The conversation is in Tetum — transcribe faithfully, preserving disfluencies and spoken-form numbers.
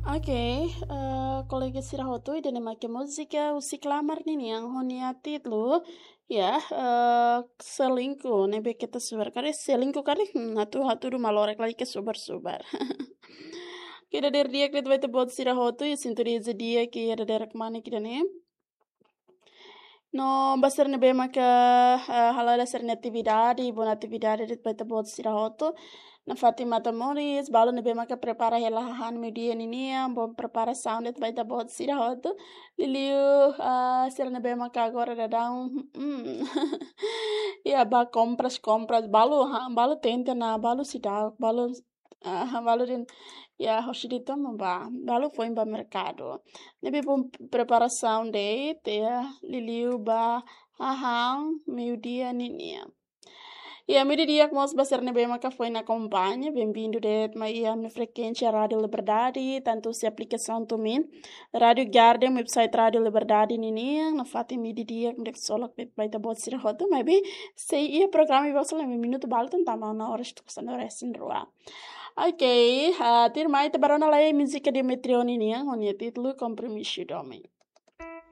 Oke, eh, kolega sira hotu, ida-ne'e mak múzika Husik Lamar ninian ho nia títulu, ya, eh, Selingkuh, ne'ebé keta subar. Karik selingkuh karik, hmm, hatudu, hatudu malorek lai ke subar-subar. Oke, dadeer di'ak de'it ba ita-boot sira hotu, ya, sintonia di'ak, ya, dadeer kemana kita nih? No ba sira ne'ebé maka, eh, hala'o sira-nia atividade, boot atividade de'it ba ita-boot sira hotu. Nafatin matan moris, balu ne'ebé maka prepara hela hahán meiudia ninian, boot preparasaun de'it ba ita-boot sira hotu. Liuliu, eh, sira ne'ebé maka agora daudaun, mm, ya, ba kompras, kompras, balu, ha, balu tenta ona, balu seidauk, balu, ah, balu dehan, ya, hosi de'it ona ba, balu foin ba merkadu. Ne'ebé boot preparasaun de'it, ya, liuliu ba hahán meiudia ninian. Ya, meiudia di'ak mós ba sira ne'ebé maka foin akompaña, benvindu de'it mai iha ami-nia frekuénsia Rádiu Liberdade, tantu husi aplikasaun TuneIn, Rádiu Garden, website Rádiu Liberdade ninian, nafatin meiudia di'ak, di'ak ksolok de'it ba ita-boot sira hotu, maibé sei iha programa ida sola, minutu balu tan tama ona oras tuku sanulu resin rua. Oke, ah, tuirmai ita bá rona lai múzika Demetrio ninian, ho nia títulu Kompromisu Domin.